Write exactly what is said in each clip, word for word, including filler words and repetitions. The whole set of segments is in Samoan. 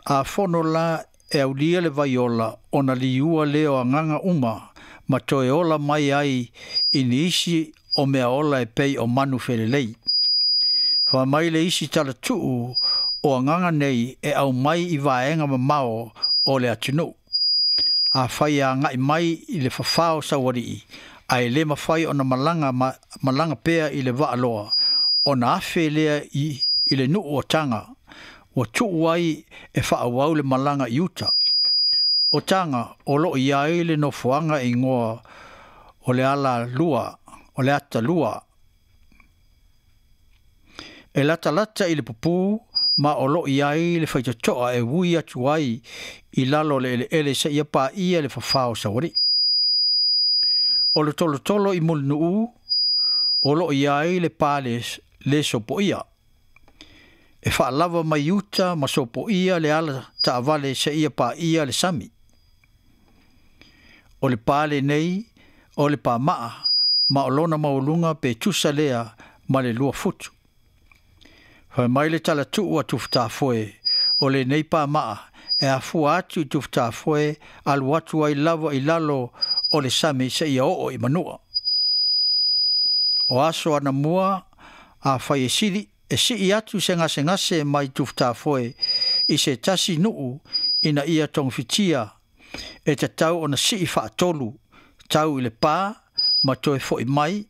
A fono la e aulia le vaiola ona liua lea o agaga uma ma toe ola mai ai i nisi o mea ola e pei o manu felelei. Fai mai le isi talatuu o agaga nei e aumai i vaega mamao o le atunuu. Afai e agai mai i le fafao saualii, ae le mafai ona malaga, ma, malaga pea i le vaaloa, ona afe lea i, i le nuu o Taga, ua tuu ai e faaauau le malaga i uta. O Taga o loo i ai le nofoaga e igoa o le ala lua, o le ata lua. E latalata i le pupū ma o loo i ai le faitotoa e ui atu ai i lalo o le eleele seia paia le fafao saualii. O le tolotolo i Mulinuu o loo i ai le pa le, le sopoia. E faalava mai uta ma sopoia le ala taavale seia paia le sami. O le pa lenei o le pamaa ma o lona maualuga pe tusa lea ma le lua futu. Fai mai le talatuu a Tufutafoe o lenei pamaa e afua atu i Tufutafoe alu atu ai lava i lalo o le sami seia oo i Manua. O aso anamua afai e sili e sii atu se gasegase mai Tufutafoe i se tasi nuu ina ia togafitia e tatau ona sii faatolu tau i le pa ma toe foi mai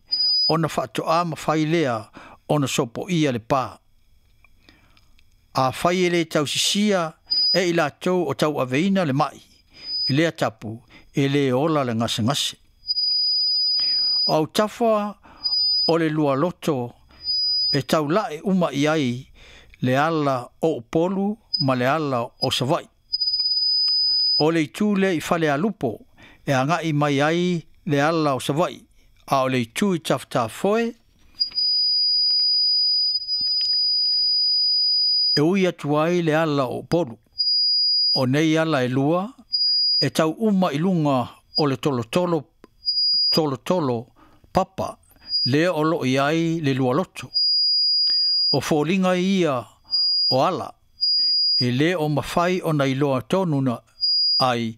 ona faatoa mafai lea ona sopoia le pa. Afai e le tausisia e i latou o tauaveina le mai, lea tapu e le ola le gasegase. O autafa o le lualoto e taulae uma i ai le ala o Upolu ma le ala o Savaii. O le itu lea i Falealupo e agai mai ai le ala o Savaii, a o le itu i Tafutafoe e ui atu ai le ala o Upolu. O nei ala e lua e tau uma i luga o le tolotolo, tolotolo papa lea o loo i ai le lualoto. O foliga ia o ala e le o mafai ona iloa tonu na ai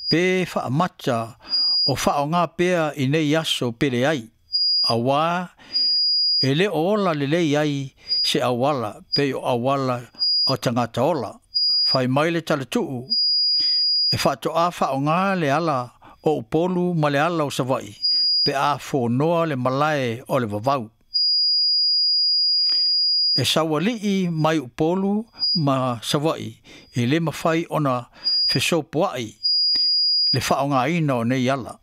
pe faamata o faaaoga pea i nei aso pe leai, auā e le o ola lelei ai se auala pei o auala o tagata ola. Fai mai le talatuu e faatoa faaaoga le ala o Upolu ma le ala o Savaii pe a fonoa le malae o le vavau. E saualii mai Upolu ma Savaii e le mafai ona fesopoai le faaaogaina o nei ala.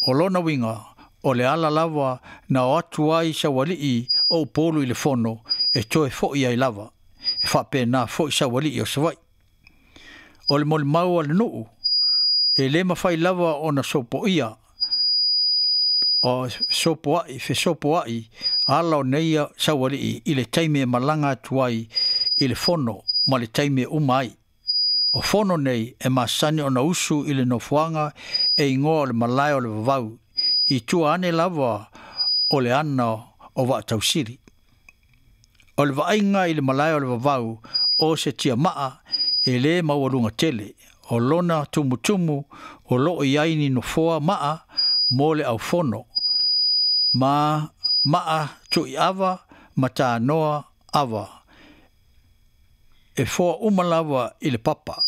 O lona uiga o le ala lava na o atu ai saualii o Upolu i le fono e toe foi ai lava, e faapena foi saualii o Savaii. O le molimau a le nuu e le mafai lava ona sopoia o sopoai fesopoai ala o nei saualii i le taimi e malaga atu ai i le fono ma le taimi e uma ai. O fono nei e masani ona usu i le nofoaga e igoa o le malae o le vavau i tua ane lava o le ana o Vaatausili. O le vaaiga i le malae o le vavau o se tiamaa e le maualuga tele, o lona tumutumu o loo i ai ni nofoa maa mo le aufono, ma maa tuiava ma tanoa ava, e foa uma lava i le papa.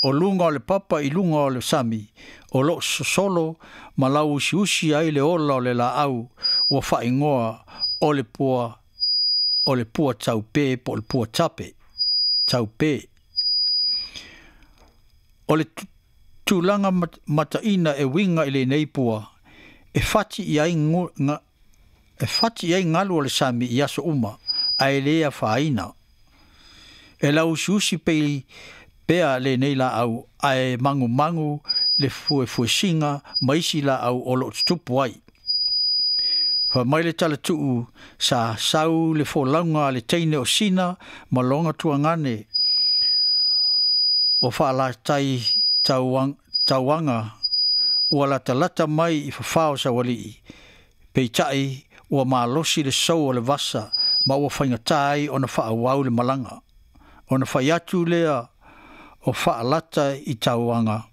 O luga o le papa i luga o le sami, o loo sosolo ma lauusiusi ai le ola o le laau ua faaigoa o le pua, o le pua taupe po o le pua tape, taupe. O le tulaga mataina e uiga i lenei pua, e fati i ai, nga, e fati i ai galu o le sami i aso uma, ae le afaina. E lauusiusi pei pea lenei laau, ae magumagu le fuefuesiga ma isi laau o loo tutupu ai. Fai mai le talatuu sa sau le folauga a le teine o Sina ma lona tuagane o faalatai tauaga ua latalata mai i fafao saualii, peitai ua malosi le sou o le vasa ma ua faigatā ai ona faaauau le malaga. Ona fai atu lea o Faalata i tauaga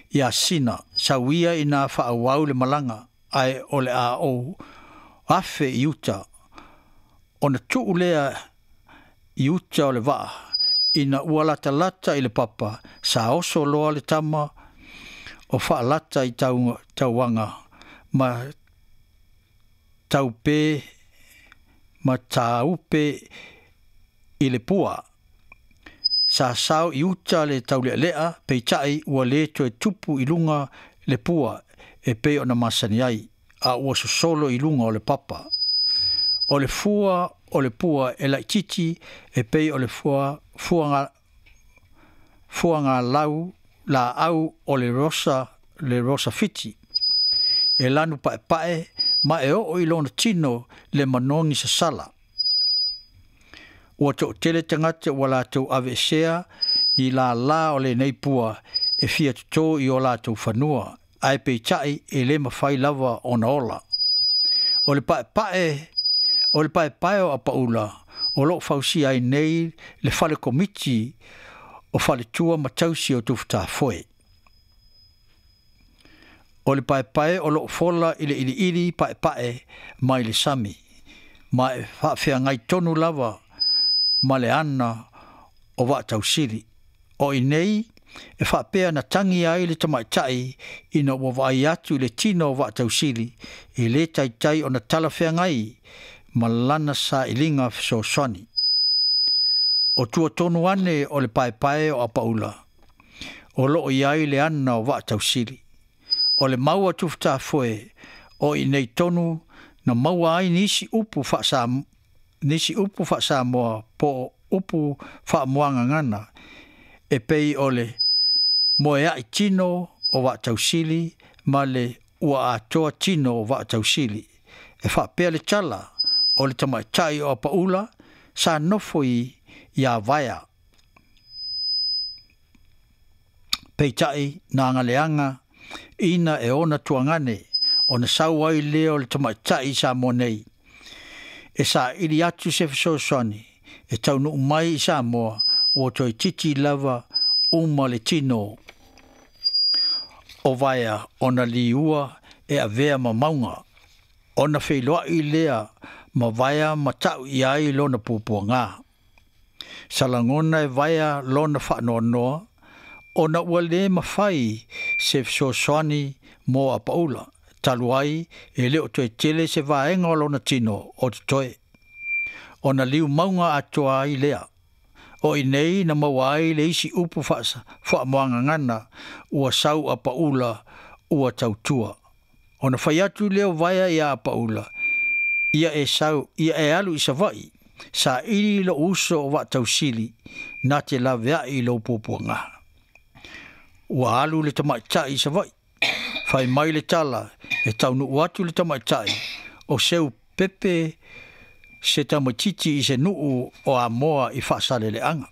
ia Sina, sauia ina faaauau le malaga, ae o le a ou afe i uta. Ona tuu lea i uta o le vaa, ina ua latalata i le papa, sa oso loa le tama o Faalata i tauaga ma taupe ma taupe i le pua. Sa sao i uta le taulealea, peitai ua le toe tupu i luga le pua e pei ona masani ai, a ua sosolo i luga o le papa. O le fua o le pua e laititi e pei o le fua fuaga fuaga lau la au o le rosa le rosa fiti. E lanu paepae ma e oo i lona tino le manogi sasala. Ua toʻatele tagata ua latou aveesea ni lālā o lenei pua e fia totō i o latou fanua, ae peitai e lē mafai lava ona ola. O le paepae o le paepae o Apaula o loo fausia ai nei le fale komiti o faletua ma tausi o Tufutafoe. O le paepae o loo fola i le iliili paepae mai le sami, ma e faafeagai tonu lava ma le ana o Vaatausili. O i nei e faapea na tagi ai le tamaitai ina ua vaai atu i le tino o Vaatausili e lē taitai ona talafeagai ma lana sailiga fesoasoani. O tuatonu ane o le paepae o Apaula o loo i ai le ana o Vaatausili. O le mau a Tufutafoe o i nei tonu na maua ai nisi upu faasa nisi upu faasamoa po upu faamuagagana e pei o le moeaʻi tino o Vaatausili ma le ua atoa tino o Vaatausili. E faapea le tala o le tamaitai o Apaula sa nofo i iā Vaea. Peitai na agaleaga ina e ona tuagane ona sau ai lea o le tamaitai i Samoa nei. E saili atu se fesoasoani e taunuu mai i Samoa ua toeitiiti lava uma le tino o Vaea ona liua e avea ma mauga. Ona feiloai lea ma Vaea ma tau i ai lona puapuaga. Sa lagona e Vaea lona faanoanoa ona ua lē mafai se fesoasoani mo Apaula, talu ai e le o toe tele se vaega o lona tino o totoe. Ona liu mauga atoa ai lea. O i nei na maua ai le isi upu faamuagagana ua sau Apaula ua tautua. Ona fai atu lea o Vaea iā Apaula, ia e sau ia e alu i Savaʻi, saili lou uso o Vaatausili na te laveai i lou puapuaga. Ua alu le tamaitai i Savaʻi. Fai mai le tala e taunuu atu le tamaitai o seu pepe se tamaititi i se nuu o Amoa i Faasaleleaga.